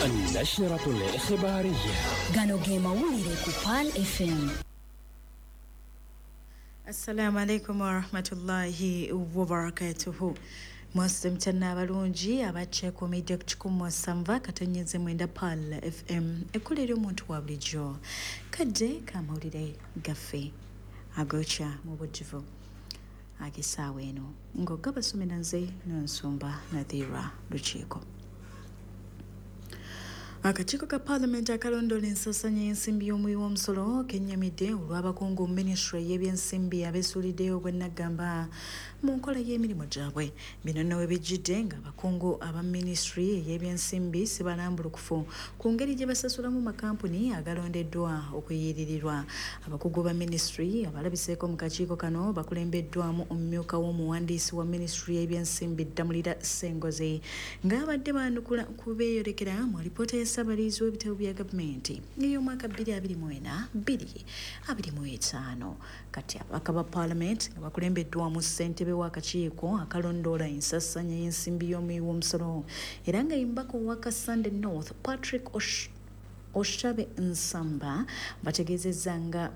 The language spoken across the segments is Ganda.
النشرة الإخبارية. Gano ge mawulire ku Pearl FM. Assalamu alaikum warahmatullahi wabarakatuhu. Mwasimukyana abalungi abakyekuumidde ku 107.9 Pearl FM, ekkola ery'omuntu wa bulijjo. Kadde k'amawulire gaffe agokya mu bujjuvu ag'essaawa eno, ng'ogabasomera nze Nansumba Nadhira Lukiiko. Akakiiko ka Paalamenti akalondoola ensaasaanya y'ensimbi y'omuwi w'omusolo kennyamidde olw'abakungu mu minisitule y'ebyensimbi abeesuuliddeyo ogw'ennaggamba mu nkola y'emirimu gyabwe. Bino nno we bijjidde ng'abakungu aba minisitule ey'ebyensimbi si balambulukufu ku ngeri gye basasulamu makampuni agalondeddwa okuyiiririrwa. Abakugu ba minisitule abalabiseeko mu kakiiko kano bakulembeddwamu omumyuka w'omuwandiisi wa minisitule y'ebyensimbi Ddamulira Ssengozi, ng'abadde baanukula ku beeyolekera mu alipoota ya Ssabalizi w'ebitabo bya gavumenti ey'omwaka 2024-2025. Kati ababaka ba Paalamenti nga bakulembeddwamu ssentebe w'akakiiko akalondoola ensaasaanya y'ensimbi y'omuwi w'omusolo era nga ye mubaka owa Kasande North Patrick Oshabe Nsamba bategeezezza nga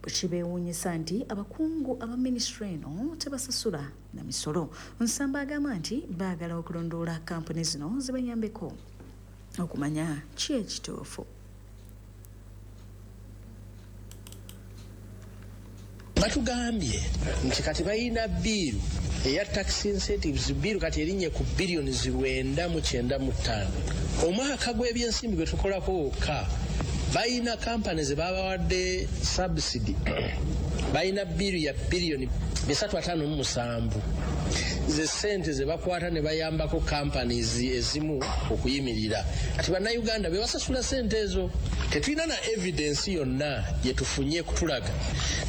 kibeewuunyisa nti abakungu aba minisitule eno tebasasula na misolo. Nsamba agamba nti baagala okulondoola kampuni zino zibayambeko okumanya ki ekituufu. Batugambye nti kati balina bill eya tax incentives, bill kati erinnye ku biliyoni 995. Omwaka gw'ebyensimbi gwe tukolako wokka balina kampani ze babawadde subsidy, balina bill ya biliyoni 357, ze ssente ze bakwata ne bayambako companies ezimu okuyimirira. Kati Bannayuganda be basasula ssente ezo. Tetulina na evidence yonna gye tufunye kutulaga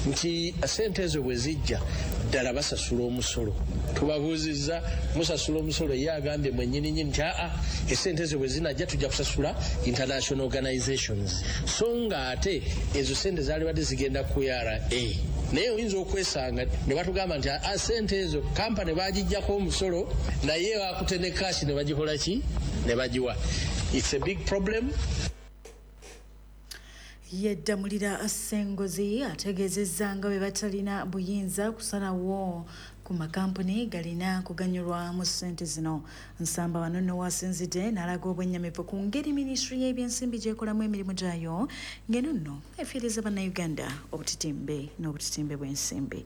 nti ssente ezo bwe zijja ddala basasula omusolo. Tubabuuzizza, musasula omusolo? Ye agambye mwennyininyini nti aa, essente ezo bwe zinajja tujja kusasula international organizations, so nga ate ezo ssente zaalibadde zigenda ku URA. Naye oyinza okwesanga ne batugamba nti aa, ssente ezo kampani bagijjako omusolo, naye bakute ne cash ne bagikola ki, ne bagiwa. It's a big problem. Ye Ddamulira Ssengozi ategeezezza nga bwe batalina buyinza kusalawo ku makampuni galina kuganyulwa mu ssente zino. Nsamba wano nno wasinzidde n'alaga obwennyamivu ku ngeri minisitule y'ebyensimbi gy'ekolamu emirimu gyayo, ng'eno nno efiiriza Bannayuganda obutitimbe n'obutitimbe bw'ensimbi.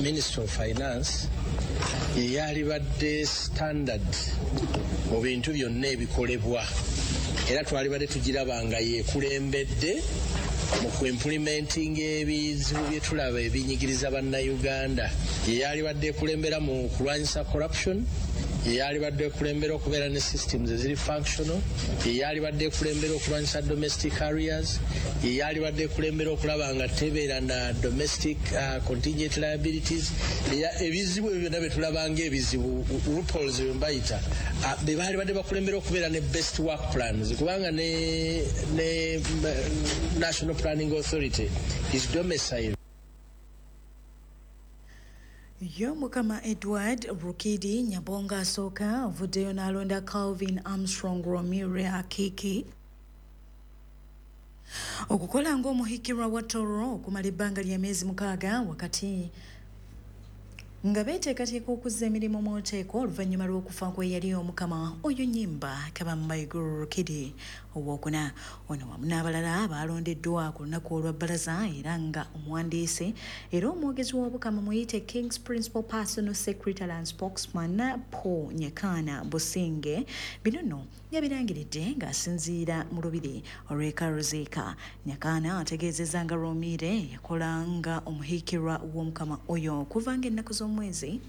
Minister of Finance ye yalibadde standard mu bintu byonna ebikolebwa, era twalibadde tugiraba nga yeekulembedde mu kuimplementing ebizibu bye tulaba ebinyigiriza Bannayuganda. Ye yalibadde ekulembera mu kulwanyisa corruption, ye yalibadde ekulembera okubeera ne systems eziri functional, ye yalibadde ekulembera okulwanyisa domestic arrears, ye yalibadde ekulembera okulaba nga tebeera na domestic contingent liabilities. Ebizibu ebyo byonna bye tulaba ng'ebizibu, loopholes bye mbayita, be baalibadde bakulembera okubeera ne best work plans, kubanga ne National Planning Authority is domiciled. Ye Omukama Edward Rukidi Nyabonga asooka avuddeyo n'alonda Calvin Armstrong Romire Akiki okukola ng'omuhikirwa wa Toro okumala ebbanga lya myezi 6, wakati nga beeteekateeka okuzza emirimu mu nteeko oluvannyuma lw'okufa kwe yali Omukama oyo Nyimba Kabambaiguru Rukidi owookuna. Ono wamu n'abalala baalondeddwa ku lunaku olwa bbalaza, era nga omuwandiisi era omwogezi w'Obukama muyite King's Principal Personal Secretary and Spokesman Paul Nyakaana Businge bino nno yabirangiridde ng'asinziira mu lubiri olw'e Karuziika. Nyakaana ategeezezza nga Romire yakola nga omuhiikirwa w'Omukama oyo okuva ng'ennaku z'omwezi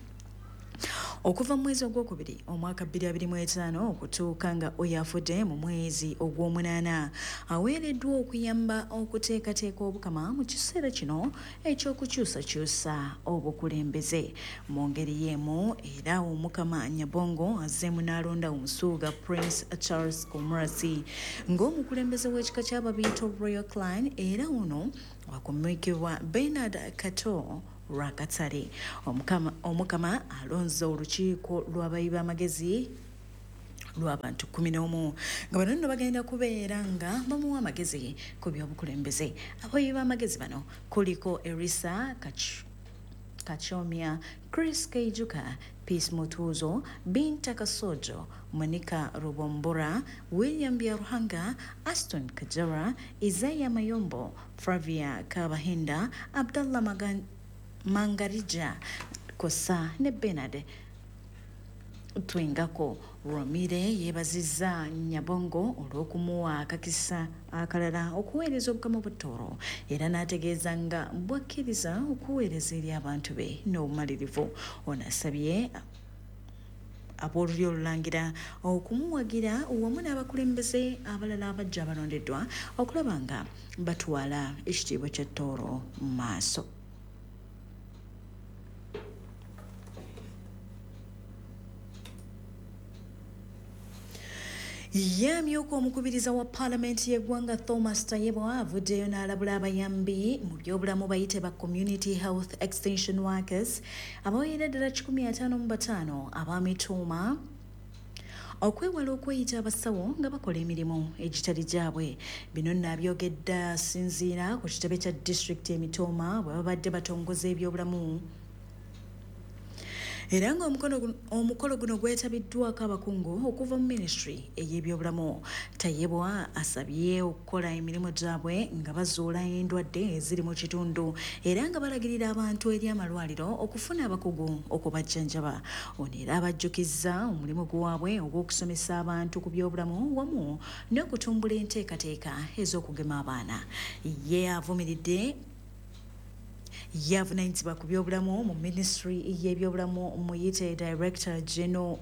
okuva mu mwezi ogwokubiri omwaka 2025 okutuuka nga oyo afudde mu mwezi ogw'omunaana. Aweereddwa okuyamba okuteekateeka Obukama mu kiseera kino ekyokukyusakyusa obukulembeze. Mu ngeri y'emu era Omukama Nyabongo azzeemu n'alonda omusuuga Prince Charles Omurasi ng'omukulembeze w'ekika ky'Ababiito Royal Clan, era ono wakumyukibwa Bernard Kato Rwakatare. Omukama alonze olukiiko lw'abayi b'amagezi lw'abantu 11 nga bano nno bagenda kubeera nga bamuwa amagezi ku by'obukulembeze. Abayi b'amagezi bano kuliko Erisa Kachomia, Chris Keijuka, Peace Mutuzo, Binta Kasojo, Monica Rubombora, William Byaruhanga, Aston Kajara, Isaiah Mayombo, Flavia Kabahinda, Abdallah Mangarija Kosa ne Bernard Twingako. Rwamire yeebazizza Nyabongo olw'okumuwa akakisa akalala okuweereza Obukama bwa Tooro era n'ategeeza nga bwakkiriza okuweereza eri abantu be n'obumalirivu. Ono asabye ab'olulyo olulangira okumuwagira wamu n'abakulembeze abalala abajja abalondeddwa okulaba nga batwala ekitiibwa kya Tooro mu maaso. Yamyuka omukubiriza wa paalamenti y'eggwanga Thomas Tayebwa avuddeyo n'alabula abayambi mu byobulamu bayite ba Community Health Extension Workers abawerera ddala 155 abamituuma okwewala okweyita abasawo nga bakola emirimu egitali gyabwe. Bino nno abyogedde asinziira ku kitebe kya disitulikiti Emitooma bwe babadde batongoza ebyobulamu era nga omukolo guno gwetabiddwako abakungu okuva mu minisitule ey'ebyobulamu. Tayebwa asabye okukola emirimu gyabwe nga bazuula endwadde eziri mu kitundu era nga balagirira abantu eri amalwaliro okufuna abakugu okubajjanjaba. Ono era abajjukizza omulimu gwabwe ogw'okusomesa abantu ku byobulamu wamu n'okutumbula enteekateeka ez'okugema abaana. Ye avumiridde yavunaanyizibwa ku byobulamu mu minisitule y'ebyobulamu muyite Director General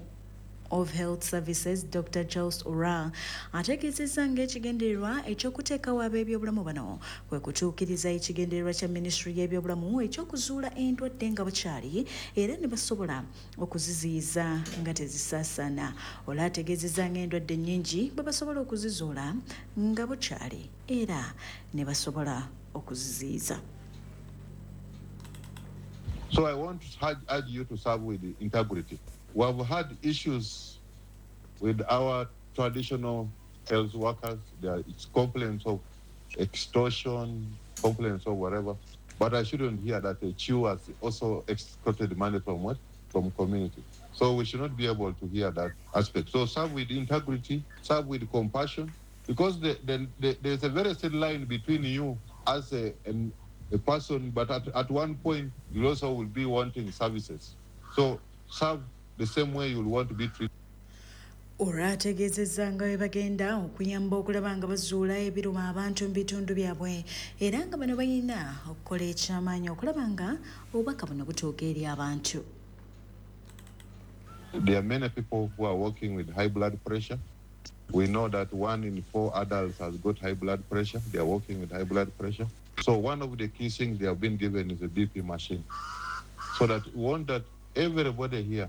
of Health Services Dr. Charles Ora ategeezezza ng'ekigendererwa eky'okuteekawo ab'ebyobulamu bano kwe kutuukiriza ekigendererwa kya minisitule y'ebyobulamu eky'okuzuula endwadde nga bukyali era ne basobola okuziziyiza nga tezisaasaana. Ola ategeezezza ng'endwadde nnyingi bwe basobola okuzizuula nga bukyali era ne basobola okuziziyiza. So I want to urge you to serve with integrity. We have had issues with our traditional health workers. There are complaints of extortion, complaints of whatever. But I shouldn't hear that a Chew has also extorted money from what? From community. So we should not be able to hear that aspect. So serve with integrity, serve with compassion, because there's a very thin line between you as a person, but at one point, you also will be wanting services. So serve the same way you'll want to be treated. Olwategeezezza nga bwe bagenda okuyamba okulaba nga bazuula ebiruma abantu mu bitundu byabwe era nga bano balina okukola ekyamaanyi okulaba nga obubaka buno butuuka eri abantu. There are many people who are working with high blood pressure. We know that 1 in 4 adults has got high blood pressure. They are working with high blood pressure. So one of the key things they have been given is a BP machine. So that we want that everybody here,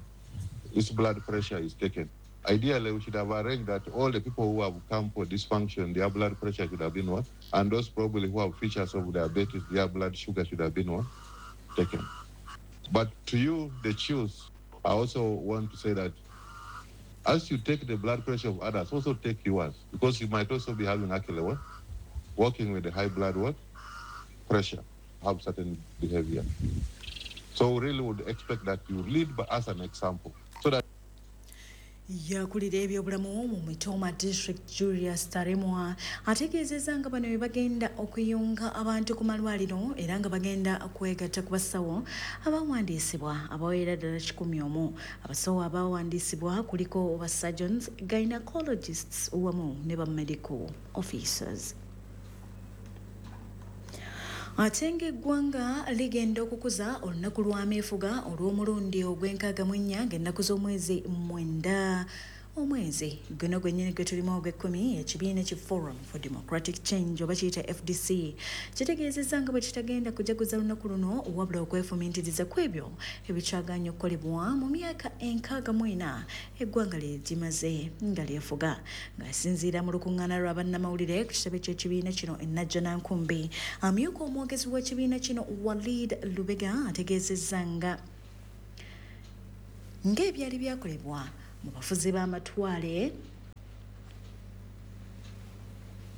its blood pressure is taken. Ideally, we should have arranged that all the people who have come for this function, their blood pressure should have been what? And those probably who have features of diabetes, their blood sugar should have been what? Taken. But to you, the chiefs, I also want to say that as you take the blood pressure of others, also take yours, because you might also be having actually what? Working with the high blood what? Pressure, have certain behavior. So we really would expect that you lead by as an example. So that yakulira ebyobulamu mu Mitooma District Julius Taremwa ategeezezza nga bano bwe bagenda okuyunga abantu ku malwaliro era nga bagenda kwegatta ku basawo abawandiisibwa abawera ddala 101. Abasawo abawandiisibwa kuliko ba surgeons, gynecologists wamu ne ba medical officers. Ate ng'eggwanga ligenda okukuza olunaku lw'ameefuga olw'omulundi ogw'enkaaga mu nnya ng'ennaku z'omwezi 9 omwezi guno gwennyini gwe tulimu ogw'ekkumi. Ekibiina ki Forum for Democratic Change oba kiyita FDC kitegeezezza nga bwe kitagenda kujaguza lunaku luno wabula okwefumiintiriza ku ebyo ebikyaganye okukolebwa mu myaka 64 eggwanga lye limaze nga lyefuga. Ng'asinziira mu lukuŋŋaana lwa bannamawulire ku kitebe ky'ekibiina kino e Najjanankumbi, amyuka omwogezi w'ekibiina kino Walid Lubega ategeezezza nga ng'ebyali byakolebwa mu bafuzi b'amatwale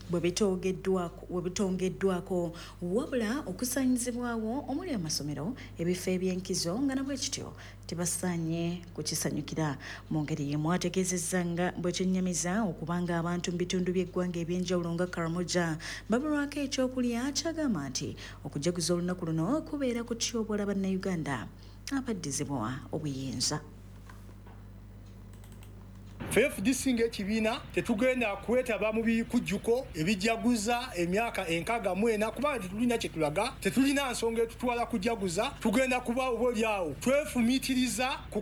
bwe bitongeddwako wabula okusaanyizibwawo omuli amasomero, ebifo eby'enkizo nga nabwe kityo tebasaanye kukisanyukira. Mu ngeri y'emu ategeezezza nga bwe kyennyamiza okubanga abantu mu bitundu by'eggwanga eby'enjawulo nga Karamoja babulwako ekyokulya, kyagamba nti okujaguza olunaku luno kubeera kutyoboola bannayuganda abaddizibwa obuyinza. FDC ng'ekibiina tetugenda kwetaba mu bikujjuko ebijaguza emyaka 64 kubanga tetulina kye tulaga, tetulina nsonga etutwala kujaguza. Tugenda kuba oba oliawo twefumiitiriza ku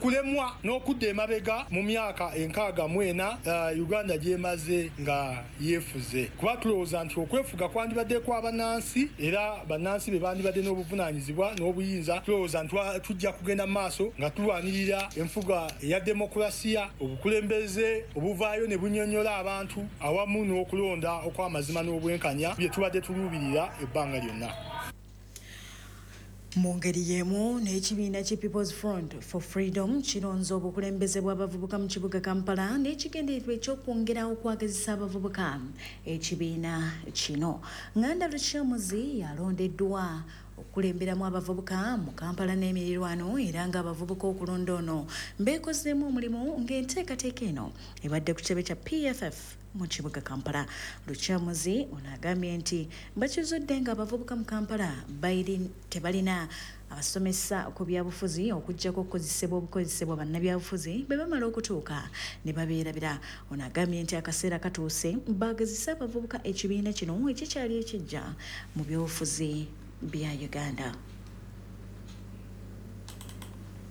kulemwa n'okudda emabega mu myaka 64 Uganda gy'emaze nga yeefuze, kuba tulowooza nti okwefuga kwandibadde kwa bannansi era bannansi be bandibadde n'obuvunaanyizibwa n'obuyinza. Tulowooza nti tujja kugenda mu maaso nga tulwanirira enfuga eya demokulasiya, obukulembeze obuvaayo ne bunyonnyola abantu awamu n'okulonda okw'amazima n'obwenkanya bye tubadde tuluubirira ebbanga lyonna. Mu ngeri y'emu n'ekibiina ki People's Front for Freedom kironze obukulembeze bw'abavubuka mu kibuga Kampala n'ekigendererwa eky'okwongera okwagazisa abavubuka ekibiina kino. Nganda Lukyamuzi yalondeddwa okukulemberamu abavubuka mu Kampala n'emirirwano era ng'abavubuka okulonda ono beekozeemu omulimu ng'enteekateeka eno ebadde ku kitebe kya PFF mu kibuga Kampala. Lukyamuzi ono agambye nti bakizudde ng'abavubuka mu Kampala tebalina abasomesa ku byabufuzi okuggyako okukozesebwa obukozesebwa bannabyabufuzi bwe bamala okutuuka ne babeerabira. Ono agambye nti akaseera katuuse baagazise abavubuka ekibiina kino ekikyali ekijja mu byobufuzi bya Uganda.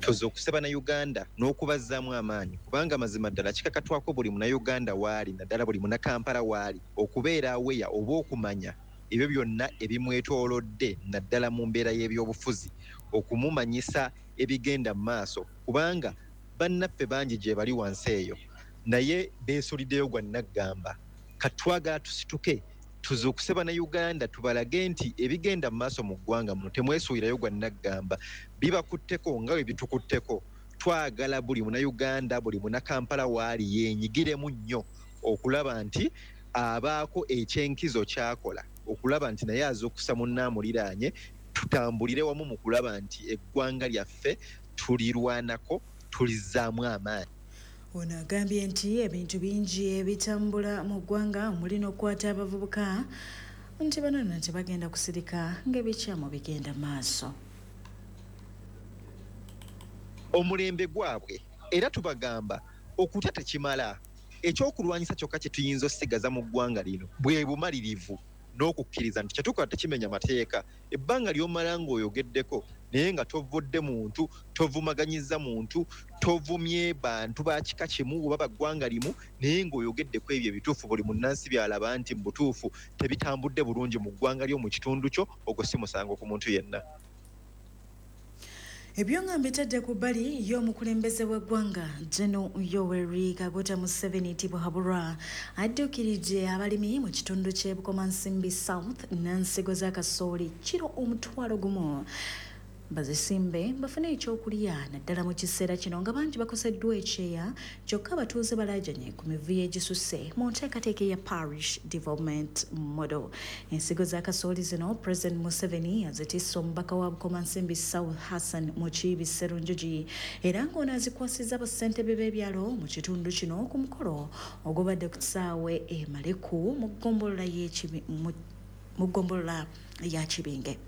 Tuzuukuse bannayuganda n'okubazzaamu amaanyi kubanga mazima ddala kikakatwako buli munnayuganda waali, naddala buli munnakampala waali, okubeera aweya oba okumanya ebyo byonna ebimwetoolodde naddala mu mbeera y'ebyobufuzi, okumumanyisa ebigenda mu maaso kubanga bannaffe bangi gye bali wansi eyo naye beesuliddeyo gwa nnaggamba. Katwagala tusituke tuzuukuse bannayuganda tubalage nti ebigenda mu maaso mu ggwanga muno temwesuulirayo gwa nnaggamba, bibakutteko nga bwe bitukutteko. Twagala buli munnayuganda, buli munnakampala waali yeenyigiremu nnyo okulaba nti abaako ekyenkizo ky'akola, okulaba nti naye azuukusa munnaamuliraanye, tutambulire wamu mu kulaba nti eggwanga lyaffe tulirwanako, tulizzaamu amaanyi. Ono agambye nti ebintu bingi ebitambula mu ggwanga omuli n'okukwata abavubuka nti bano nno tebagenda kusirika ng'ebikyamu bigenda maaso. Omulembe gwabwe era tubagamba okutya tekimala, ekyokulwanyisa kyokka kye tuyinza okusigaza mu ggwanga lino bwe bumalirivu n'okukkiriza nti kyetukola tekimenya mateeka. Ebbanga ly'omala ng'oyogeddeko naye nga tovudde muntu, tovumaganyiza muntu, tovumye bantu ba kika kimu oba ba ggwanga limu, naye ng'oyogeddeko ebyo ebituufu buli munnansi by'alaba nti mu butuufu tebitambudde bulungi mu ggwanga lyo, mu kitundu kyo, ogwo si musango ku muntu yenna. Ebyo nga mbitadde ku bbali y'omukulembeze w'eggwanga General Yoweri Kaguta Museveni Tibuhaburwa adduukiridde abalimi mu kitundu ky'e Bukomansimbi South n'ensigo za kasooli kiro 1,000 bazisimbe bafune ekyokulya naddala mu kiseera kino nga bangi bakoseddwa ekyeya, kyokka abatuuze balaajanye ku mivuyo egisusse mu nteekateeka eya Parish Development Model. Ensigo za kasooli zino President Museveni azitisse omubaka wa Bukomansimbi South Hassan Mukiibi Sserunjogi era ng'ono azikwasizza bassentebe b'ebyalo mu kitundu kino ku mukolo ogubadde ku kisaawe e Maleku mu ggombolola ya Kibinge.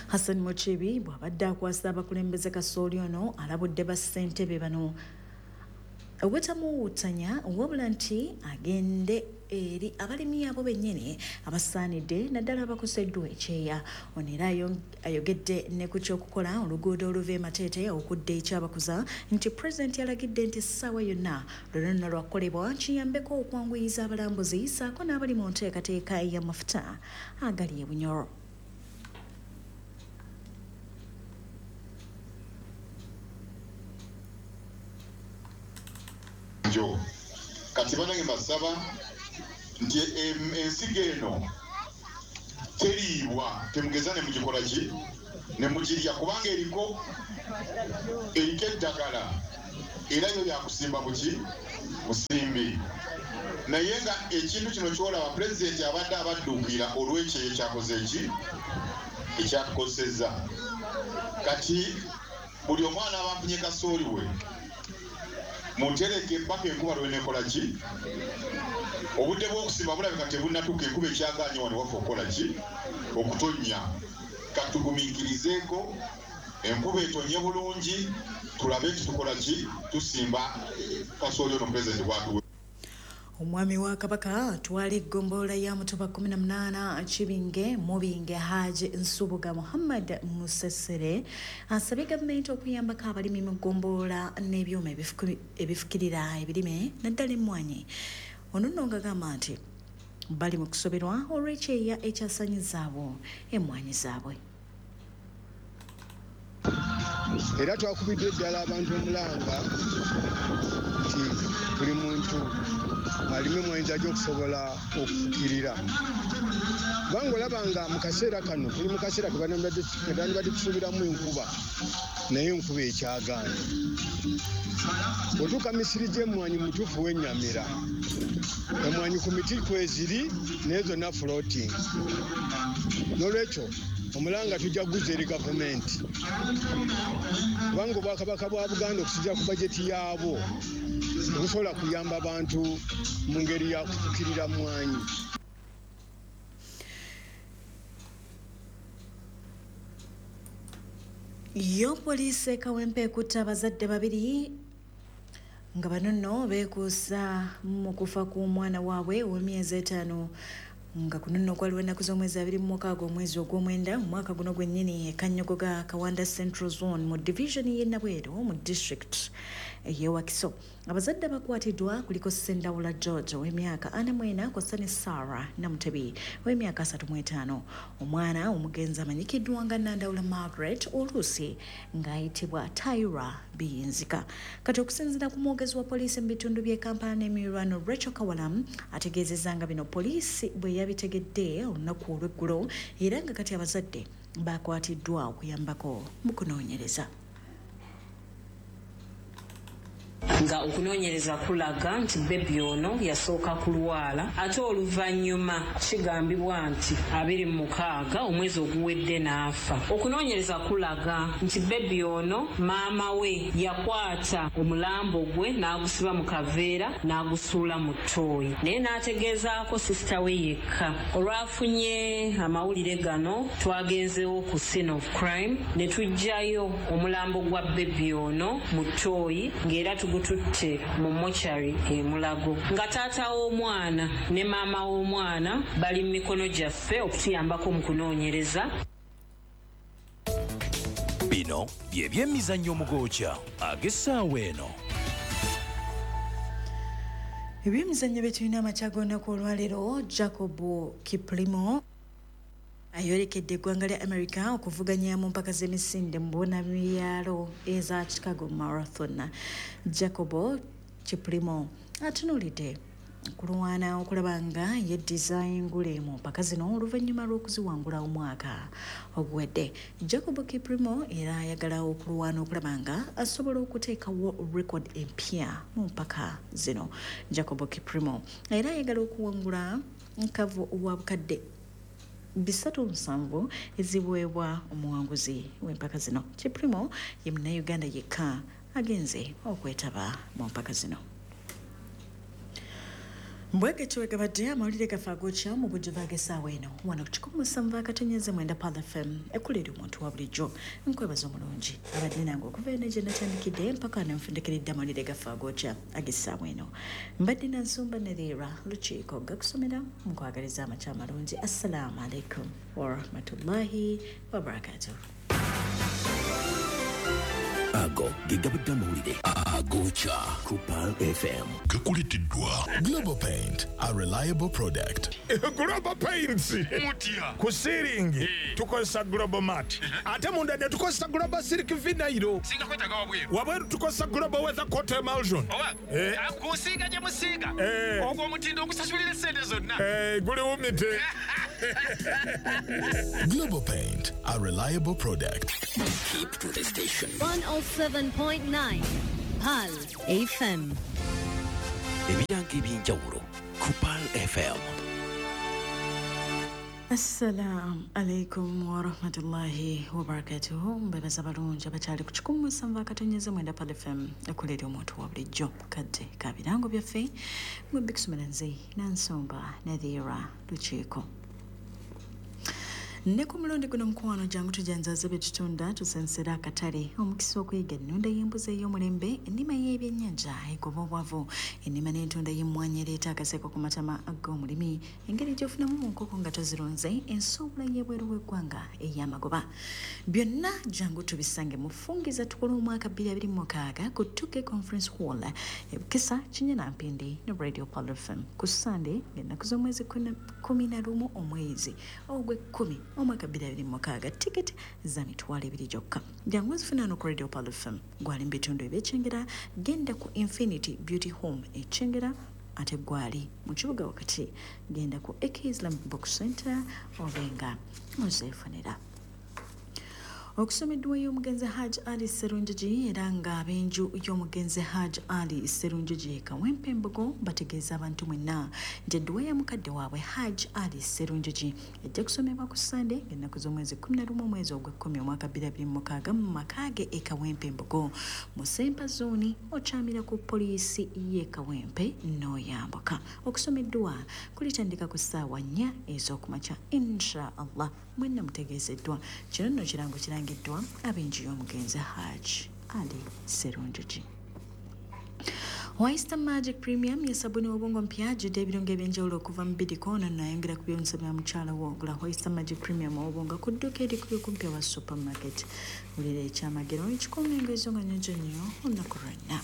Hassan Mukiibi bw'abadde akwasa abakulembeze kasooli ono alabudde bassentebe bano obutamuwuutanya wabula nti agende eri abalimi abo bennyini abasaanidde naddala abakoseddwa ekyeya. Ono era ayogedde ne ku ky'okukola oluguudo oluva e Mateete okudda ekyabakuza nti pulezidenti yalagidde nti essaawa yonna luno nno lwakukolebwa kiyambeko okwanguyiza abalambuzi ssaako n'abali mu nteekateeka y'amafuta agali e Bunyoro. Kati banange mbasaba nti ensigo eno teriibwa, temugeza ne mugikola ki ne mugirya kubanga eriko eddagala. Era yo yakusimba buki musimbi. Naye nga ekintu kino kyolaba pulezidenti abadde abadduukira olw'ekyeyo kyakoze eki ekyatukosezza. Kati buli omwana aba afunye kasooli we mutereke mpaka enkuba lwenekola ki. Obudde bw'okusimba bulabika tebunnatuuka, enkuba ekyagaanye wano waffe okukola ki okutonnya. Katugumiikirizeeko enkuba etonye bulungi tulabe nti tukola ki tusimba kasooli ono pulezidenti bw'atuwe. Omwami wa Kabaka atwala eggombolola ya Mutuba 18 Kibinge Mubinge Haji Nsubuga Muhammad Musesere asabye gavumenti okuyambako abalimi mu ggombolola n'ebyuma ebifukirira ebirime naddala emmwanyi. Ono nno ng'agamba nti bali mu kusoberwa olw'ekyeya ekyasanyizaabo emmwanyi zaabwe. Era twakubiddwa eddala abantu omulanga nti buli muntu alime emwanyi ajja okusobola okufukirira, kubanga olaba nga mu kaseera kano tuli mu kaseera ketandibadde tusuubiramu enkuba, naye enkuba ekyagaanye. Otuuka misiri gy'emmwanyi mutuufu wennyamira, emmwanyi ku miti kweziri naye zonna floating. N'olwekyo omulanga tujja kuguza eri gavumenti, kubanga obwakabaka bwa Buganda okusinziira ku bajeti yaabwo tebusobola kuyamba abantu mu ngeri ya kufukirira mwanyi. Yo poliisi e Kawempe ekutte abazadde babiri nga bano nno beekuusa mu kufa kw'omwana waabwe ow'emyezi 5, nga kuno nno kwaliwo ennaku z'omwezi 26 omwezi ogw'omwenda mu mwaka guno gwennyini e Kanyogoga Kawanda Central Zone mu division y'e Nabweru mu district ey'e Wakiso. Abazadde abakwatiddwa kuliko Sendawula George ow'emyaka 44 kw'ossa ne Sarah Namutebi ow'emyaka 35. Omwana omugenzi amanyikiddwa nga Nandawula Margaret oluusi ng'ayitibwa Tyra Biyinzika. Kati okusinziira ku mwogezi wa poliisi mu bitundu by'e Kampala n'emiriraano Rachel Kawalam ategeezezza nga bino poliisi bwe yabitegedde olunaku olw'eggulo, era nga kati abazadde bakwatiddwa okuyambako mu kunoonyereza. Nga okunoonyereza kulaga nti bebi ono yasooka kulwala, ate oluvannyuma kigambibwa nti 26 omwezi oguwedde n'afa. Okunoonyereza kulaga nti bebi ono maama we yakwata omulambo gwe n'agusiba mu kaveera n'agusuula mu ttooyi, naye n'ategeezaako sisita we yekka. Olwafunye amawulire gano twagenzeewo ku scene of crime ne tuggyayo omulambo gwa bebi ono mu ttooyi, ng'era tugututte mu mochari e Mulago. Nga taata w'omwana ne maama w'omwana bali mu mikono gyaffe okutuyambako mu kunoonyereza. Bino bye byemizannyo omugokya ag'essaawa eno. Ebyemizannyo bye tulina amakya g'olunaku olwaleero, Jacob Kiplimo ayolekedde eggwanga lya America okuvuganya mu mpaka z'emisinde mu bunabyalo eza Chicago Marathon. Jacob Kiplimo atunuulidde okulwana okulaba nga yeddiza engule mu mpaka zino oluvannyuma lw'okuziwangula omwaka oguwedde. Jacob Kiplimo era ayagala okulwana okulaba nga asobola okuteekawo record empya mu mpaka zino. Jacob Kiplimo era ayagala okuwangula nkavu wa bukadde 307 eziweebwa omuwanguzi w'empaka zino. Kiplimo ye munnayuganda yekka agenze okwetaba mu mpaka zino. Mbwege kiwegabadde amawulire gaffe agokya mu bujjuvu ag'essaawa eno wano ku 107.9 Pearl FM ekkulira omuntu wa bulijjo. Nkwebaza omulungi abadde nange okuva eno gye natandikidde mpaka nenfundikiridde amawulire gaffe agokya ag'essaawa eno. Mbadde na Nsumba Nadhira Lukiiko gakusomera nkwagaliza amakya amalungi. Assalaamu alaikum warahmatullahi wabarakatuh. Ago ge gabadde amawulire agokya ku Pearl FM. Gakuleteddwa Global Paint, a reliable product. Global Paints mutya ku ceiling tukozesa Global Mat, ate munda ne tukozesa Global Silk Vinyl. Singa kwetaaga wabweru, wabweru tukozesa Global Weather Coat Emulsion. Kusiiga gye musiiga ogwo omutindo ogusasulira essente zonna guliwumite. Global Paint, a reliable product. Keep to the station. 107.9 Pearl Pearl FM. Ebirango ebyenjawulo ku Pearl FM. Assalamu alaikum warahmatullahi wabarakatuhu. Mbebaza balungi abakyali ku 107.9 Pearl FM, ekolera omuntu wa bulijjo. Kadde ka birango byaffe mwe bikusomera nze Nansomba Nadhira Lukiiko. Ne ku mulundi guno mukwano jangu tujanzaze bye tutunda, tusensera akatale, omukisa okuyiga ennunda y'embuzi ey'omulembe, ennima y'ebyennyanja egoba obwavu, ennima n'entunda y'emmwanyi ereeta akaseko ku matama ag'omulimi, engeri gy'ofunamu mu nkoko nga tozirunze, ensuubula y'ebweru w'eggwanga ey'amagoba. Byonna jangu tubisange mu Fungiza Tukole omwaka 2026 ku 2K Conference Hall, Ebukisa, Kinyana Mpindi ne Radio Pearl FM ku Sande ng'ennaku z'omwezi 11 omwezi ogw'ekkumi omwaka 2026. Tiketi za 20,000 gyokka. Jangu ozifuna no ku Radio Pearl FM. Gwali mu bitundu eby'Ekyengera, genda ku Infinity Beauty Home e Kyengera, ate gwali mu kibuga wakati genda ku AK Islamic Book Center obenga ozeefunira. Okusomeddwa y'omugenzi Hajj Ali Sserunjogi, era nga ab'enju y'omugenzi Hajj Ali Sserunjogi Kawempe Mbogo bategeeza abantu mwenna nti edduwa ya mukadde waabwe Hajj Ali Sserunjogi ejja kusomebwa ku Sande ng'ennaku z'omwezi 11 omwezi ogw'ekkumi omwaka 2026 mu maka ge e Kawempe Mbogo mu Sempa Zooni, okyamira ku poliisi y'e Kawempe n'oyambuka. Okusomeddwa kulitandika ku ssaawa 4 ez'okumakya, insha Allah. Mwenna mutegeezeddwa. Kino nno kirango kirangiddwa ab'enju y'omugenzi Hajj Ali Sserunjogi. Oyster Magic Premium ye sabuni w'obwongo mpya ajjudde ebirungo ebyenjawulo okuva mu bidiko, ono nayongera ku byonsa bya mukyala wo. Gula Oyster Magic Premium ow'obwongo ku dduuka erikuli okumpi owa supermarket. Wulira ekyamagero ekikuuma engoye zo nga nnyonjo nnyo olunaku lwonna.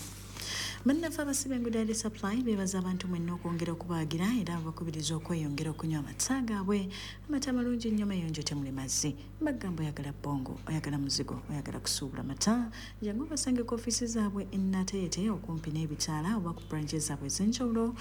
Bannaffe abasiba enguudo ya Supply beebaza abantu mwenna okwongera okubaagira, era babakubiriza okweyongera okunywa amata gaabwe, amata amalungi ennyo mayonjo temuli mazzi. Bagamba oyagala bbongo, oyagala muzigo, oyagala kusuubula mata, jangu obasange ku ofiisi zaabwe e Nateete okumpi n'ebitaala oba ku branches zaabwe ez'enjawulo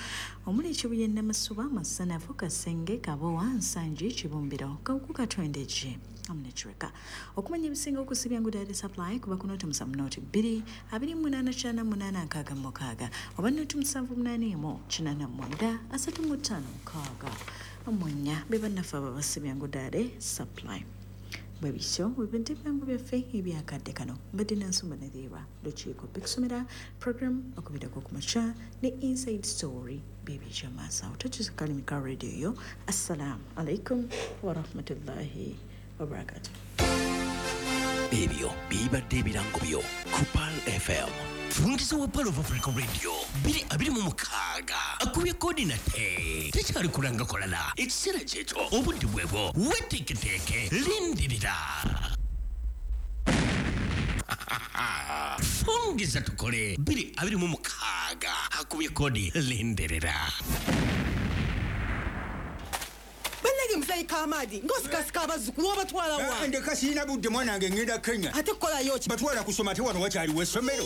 omuli Kibuye, Namasuba, Masanafu, Kasenge, Kabowa, Nsangi, Kibumbiro, Kawuku, Katwendeje amu ne Kireka. Okumanya ebisinga okusibya enguudo ya Supply kuba ku 070 2 28 866 oba 078 89 35 6 be bannaffe abo abasibya enguudo ya Supply. Bwe bityo bwe ebirango byaffe ebyakadde kano. Mbadde Nansumba Nadhira Lukiiko, bikusomera program okubirako ku makya ne Inside Story bibijja maaso awo. Tokyusa kalimi ka radio yo. Assalamu alaikum warahmatullahi wabarakatuh. Ebyo bibadde ebirango byo ku Pearl FM. Fungiza wa Pearl of Africa Radio 2026 akubye kodi nate tekyali kulanga kolala. Ekiseera kyekyo, obudde bwebwo, weteeketeeke, lindirira. Fungiza Tukole 2026 akubye kodi, lindirira. Bannange muzeeyi Kamadi, ng'osikasika abazzukulu obatwala wa? Ndeka sirina budde, mwanange, ngenda Kenya. Ate kukolayo ki? Batwala kusoma, ate wano wakyaliwo essomero.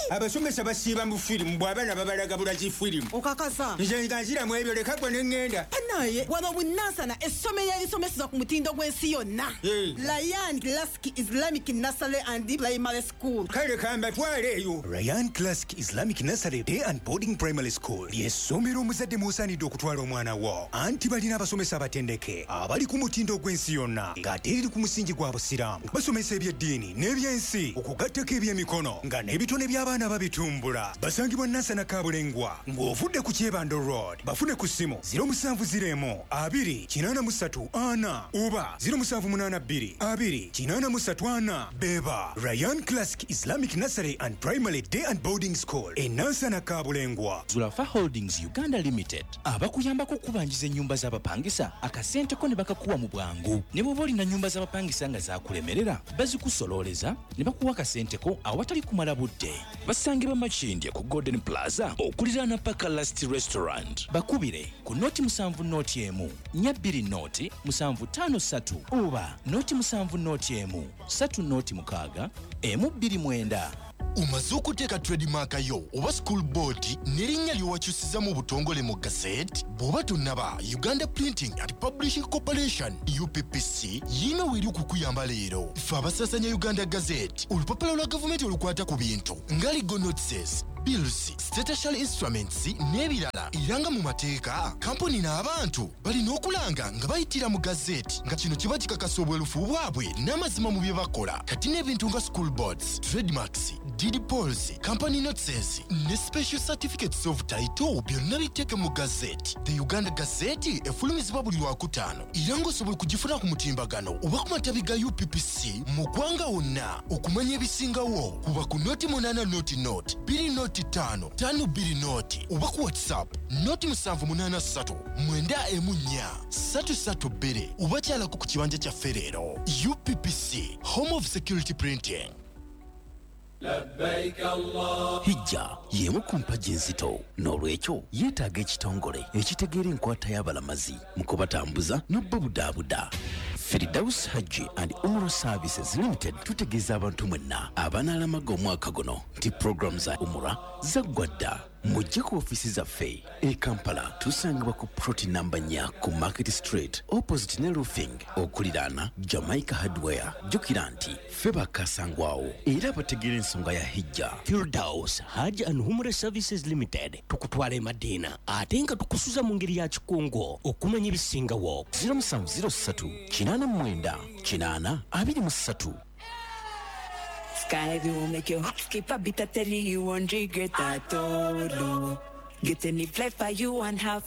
Abasomesa basiiba mu firimu, bw'abaana babalaga bulazi firimu. Okakasa? Nze nga nziramu ebyo, leka gwe ne ŋŋenda. Banaye wano Bunansana essomero erisomeseza ku mutindo gw'ensi yonna, Ryan Classic Islamic Nursery and Primary School. Kale kambatwale eyo. Ryan Classic Islamic Nursery Day and Boarding Primary School ly'essomero omuzadde mw'osaanidde okutwala omwana wo, anti balina abasomesa abatendeke abali ku mutindo gw'ensi yonna, ng'ate eriri ku musingi gwa Busiraamu. Basomesa ebyeddiini n'ebyensi okugattako ebyemikono, nga n'ebitone by'abaana babitumbula. Basangibwa Nansana Kabulengwa ng'ovudde ku Kyebando Road. Bafune ku ssimu 0701 2 83 4 oba 0782 2 83 4. Beba Ryan Classic Islamic Nursery and Primary Day and Boarding School e Nansana Kabulengwa. Zulafa Holdings Uganda Limited abakuyambako okubanjiza ennyumba z'abapangisa, akasente ko ne bakakuwa mu bwangu. Ne bw'oba olina nnyumba z'abapangisa nga zakulemerera, bazikusololeza ne bakuwa akasente ko awatali kumala budde. Basangibwa Makindye ku Golden Plaza okuliraana Paka Last Restaurant. Bakubire ku 070 1 420 753 oba 070 1 306 129. Omaze okuteeka trademark yo oba school board n'erinnya ly'owakyusiza mu butongole mu gazette? Bw'oba tonnaba, Uganda Printing and Publishing Corporation, UPPC, yiino weeri okukuyamba leero. Ffe abasaasanya Uganda Gazette, olupapula lwa gavumenti olukwata ku bintu nga legal notices, bills, statutory instruments n'ebirala, era nga mu mateeka kampuni n'abantu balina okulanga nga bayitira mu gazeti, nga kino kiba kikakasa obwerufu bwabwe n'amazima mu bye bakola. Kati n'ebintu nga school boards, trademarks, deed polls, company notices ne special certificates of title byonna biteeke mu gazeti. The Uganda Gazette efulumizibwa buli Lwakutaano, era ng'osobola okugifuna ku mutimbagano oba ku matabi ga UPPC mu ggwanga wonna. Okumanya ebisingawo, kuba ku 080 0 0 2 5 5 2 0 oba ku WhatsApp 0 783 94 332 oba kyalako ku kibanja kyaffe leero. UPPC, home of security printing. Hijja y'emu ku mpagi enzito, n'olwekyo yeetaaga ekitongole ekitegeera enkwata y'abalamazi mu kubatambuza n'obubudaabuda. Firdaus Hajji and Umrah Services Limited tutegeeza abantu mwenna abanaalamaga omwaka guno nti puroguramu za umura zaggwa dda. Mujje ku ofiisi zaffe e Kampala, tusangibwa ku plot namba 4 ku Market Street, opposite ne Roofing, okuliraana Jamaica Hardware. Jjukira nti ffe bakasangwawo era bategeera ensonga ya hijja. Firdaus Hajj and Umrah Services Limited, tukutwala e Madiina ate nga tukusuza mu ngeri ya kikungo. Okumanya ebisingawo, 0703 89 80 23. Sky will make your heart skip a beat. I tell you, you won't regret at all. Get any flight for you and have